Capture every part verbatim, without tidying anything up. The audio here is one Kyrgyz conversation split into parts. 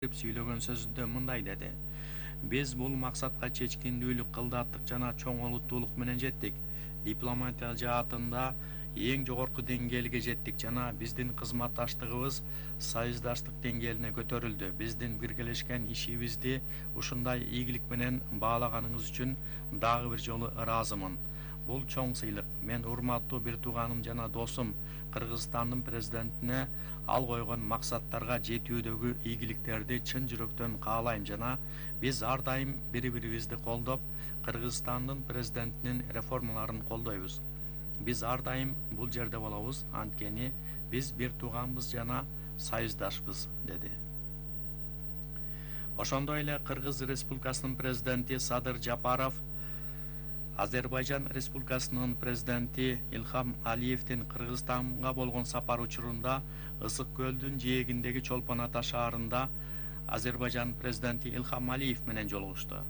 сүйлөгөн сөзүндө мындай деди: биз бул максатка чечкиндүүлүк, кылдаттык жана чоң олуттуулук менен жеттик. Дипломатия жаатында эң жогорку деңгээлге жеттик жана биздин кызматташтыгыбыз союздаштык деңгээлине көтөрүлдү. Биздин биргелешкен ишибизди ушундай ийгилик менен баалаганыңыз үчүн дагы бир жолу ыраазымын. Бул чоң сыйлык. Мен урматтуу бир тууганым жана досум Кыргызстандын президентине ал койгон максаттарга жетүүдөгү ийгиликтерди чын жүрөктөн каалайм жана биз ар дайым бири-бирибизди колдоп, Кыргызстандын президентинин реформаларын колдойбуз. Биз ар дайым бул жерде болобуз, анткени биз бир тууганбыз жана союздашпыз, деди. Ошондой эле Кыргыз Республикасынын президенти Садыр Жапаров Азербайжан Республикасынын президенти Илхам Алиевдин Кыргызстанга болгон сапары учурунда Ысык көлдүн жээгиндеги Чолпон Ата шаарында Азербайжан президенти Илхам Алиев менен жолугушту.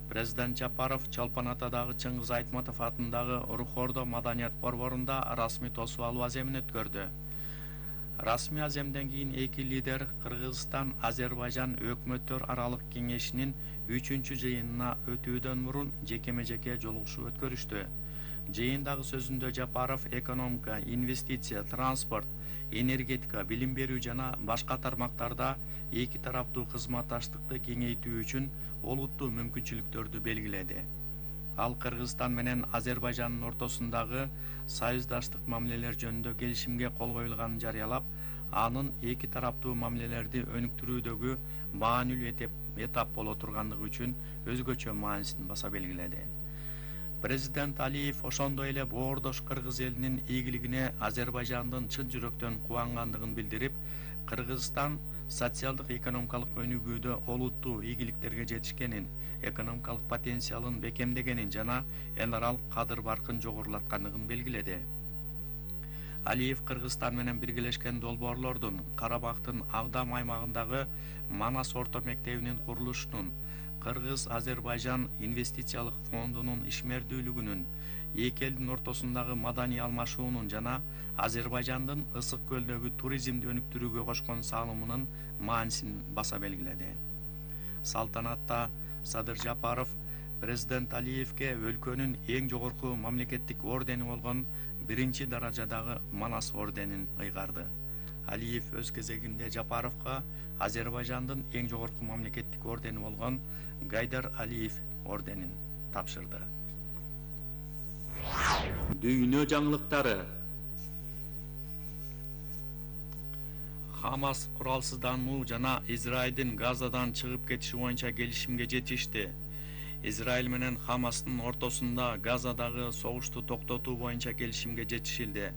Президент Жапаров Чолпон Атадагы Чыңгыз Айтматов атындагы Рухордо маданият борборунда расмий тосуп алуу аземин өткөрдү. Расмий аземден кийин эки лидер Кыргызстан Азербайжан өкмөттөр аралык кеңешинин үчүнчү жыйынына өтүүдөн мурун жекеме-жеке жолугушуу өткөрүштү. Жыйындагы сөзүндө Жапаров экономика, инвестиция, транспорт, энергетика, билим берүү жана башка тармактарда эки тараптуу кызматташтыкты кеңейтүү үчүн олуттуу мүмкүнчүлүктөрдү белгиледи. Ал Кыргызстан менен Азербайжандын ортосундагы союздаштык мамилелер жөнүндө келишимге кол коюлганын жарыялап, анын эки тараптуу мамилелерди өнүктүрүүдөгү маанилүү этап боло тургандыгы үчүн өзгөчө маанисин баса белгиледи. Президент Алиев ошондой эле боордош кыргыз элинин ийгилигине Азербайжандын чын жүрөктөн кубангандыгын билдирип, Кыргызстан социалдык экономикалык өнүгүүдө олуттуу ийгиликтерге жетишкенин, экономикалык потенциалын бекемдегенин жана эл аралык кадыр-баркын жогорулаткандыгын белгиледи. Алиев Кыргызстан менен биргелешкен долбоорлордун, Карабактын Агдам аймагындагы Манас орто мектебинин курулушунун, Кыргыз-Азербайжан инвестициялык фондунун ишмердүүлүгүнүн, эки элдин ортосундагы маданий алмашуунун жана Азербайжандын Ысык көлдөгү туризмди өнүктүрүүгө кошкон салымынын маанисин баса белгиледи. Салтанатта Садыр Жапаров президент Алиевге өлкөнүн эң жогорку мамлекеттик ордени болгон биринчи даражадагы Манас орденин ыйгарды. Алиев өз кезегинде Жапаровго Азербайжандын эң жогорку мамлекеттик ордени болгон Гайдар Алиев орденин тапшырды. Дүйнө жаңылыктары. Хамас куралсыздануу жана Израилдин Газадан чыгып кетиши боюнча келишимге жетишти. Израиль менен Хамастын ортосунда Газадагы согушту токтотуу боюнча келишимге жетишилди.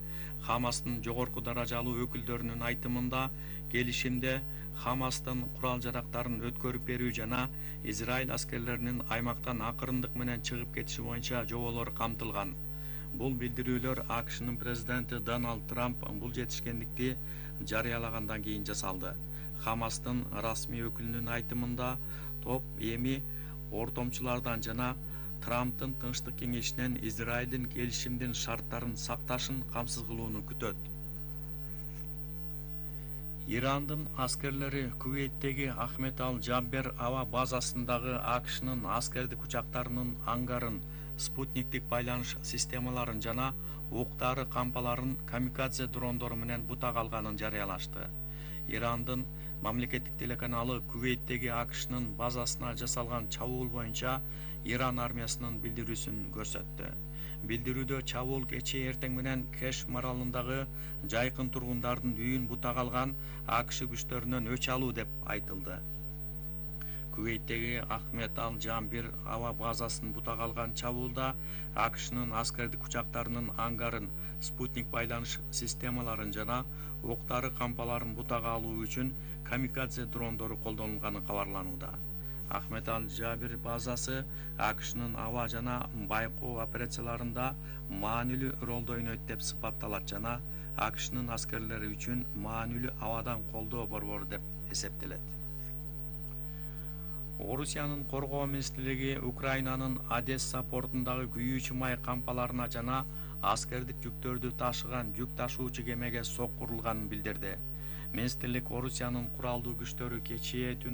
Хамастын жогорку даражалуу өкүлдөрүнүн айтымында, келишимде Хамастын курал-жарактарын өткөрүп берүү жана Израиль аскерлеринин аймактан акырындык менен чыгып кетиши боюнча жоболор камтылган. Бул билдирүүлөр АКШнын президенти Дональд Трамп бул жетишкендикти жарыялагандан кийин жасалды. Хамастын расмий өкүлүнүн айтымында, топ эми ортомчулардан жана Трамптын Тынчтык кеңешинен Израилдин келишимдин шарттарын сакташын камсыз кылууну күтөт. Ирандын аскерлери Кувейттеги Ахмед Аль-Джабер аба базасындагы АКШнын аскердик учактарынын ангарын, спутниктик байланыш системаларын жана ук-дары кампаларын камикадзе дрондору менен бутак алганын жарыялашты. Ирандын мамлекеттик телеканалы Кувейттеги АКШнын базасына жасалган чабуул боюнча Иран армиясынын билдирүүсүн көрсөттү. Билдирүүдө чабуул кечээ эртең менен Кеш маралындагы жайкын тургундардын үйүн бутак алган АКШ күчтөрүнөн өч алуу деп айтылды. Кувейттеги Ахмед Аль-Джабер аба базасын бутак алган чабуулда АКШнын аскердик учактарынын ангарын, спутник байланыш системаларын жана ук-дары кампаларын бутак алуу үчүн камикадзе дрондору колдонулганы кабарланууда. Ахмед Аль-Джабер базасы АКШнын аба жана байкоо операцияларында маанилүү ролду ойнойт деп сыпатталат жана АКШнын аскерлери үчүн маанилүү абадан колдоо борбору деп эсептелет. Орусиянын коргоо министрлиги Украинанын Одесса портундагы күйүүчү май кампаларына жана аскердик жүктөрдү ташыган жүк ташуучу кемеге соккурулганын билдирди. министрлик Орусиянын куралдуу күчтөрү кечээ